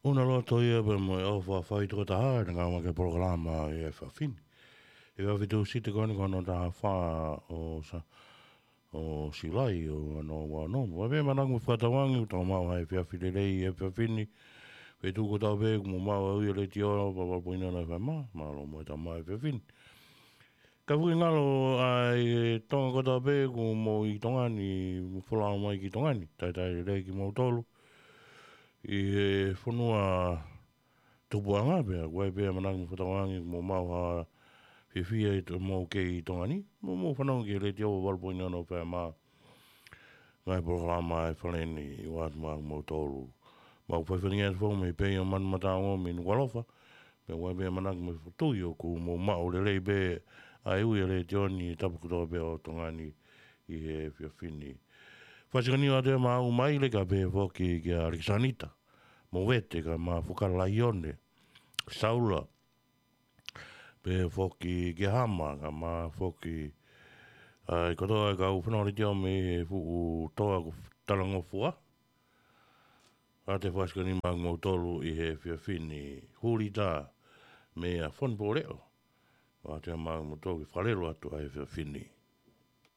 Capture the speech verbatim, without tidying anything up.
ʻUna loto ia pea mo e ʻofa fai toko taha, ʻe ngāueʻaki e polokalama ʻi he efiafi ni. ʻE efiafi Tūsite ko eni ko hono taha fā ʻo Sa-, ʻo Siulai ʻo ua noa ua noa. Ua pē manako mo fakatauange, ʻoku tau maʻu ha efiafi lelei he efiafi ni. Feituʻu kotoa pē ʻoku mou maʻu e letiō, valu poini ono F M, mālō mo e tau maʻu e efiafi ni. Ka fuʻu ngalo ʻa e Tonga kotoa pē ʻoku mou ʻi Tonga ni, mou folau mai ki Tonga ni, talitali lelei kimoutolu ʻi he fonua tupuʻanga pea, ʻoku ʻi ai pē manako mo fakatauange, mou maʻu ha fiefia ʻi hoʻomou kei ʻi Tonga ni, mou, mou fanongo ki he letiō valu poini ono F M, ngaahi polokalama ʻa e Fale ni, ʻoatu maʻamoutolu. Mau fai faingamālie atu foki mei Peio, Manumataongo, mei Nukuʻalofa, pea ʻoku ʻi ai pē manako mo e fokotuʻu ʻoku mou maʻu lelei pē ʻa e ui ʻa e letiō ni he tapu kotoa pē ʻo Tonga ni ʻi he efiafi ni. Fakasikoniu atu ʻa Maʻu Maile kae pehē foki kia ʻAlekisanita Movete kae ʻumaʻā foki Laione Saula, pehē foki kia Hama kae ʻumaʻā foki ʻa e kotoa e kau fanongo letiō mei he fuʻu toa ko Talangofua. ʻOatu e fakasikoniu maʻamoutolu ʻi he efiafi ni, Hulita mei a Fonpoleʻo. ʻOatu maʻamoutolu ke fakalelu atu ʻa e efiafi ni.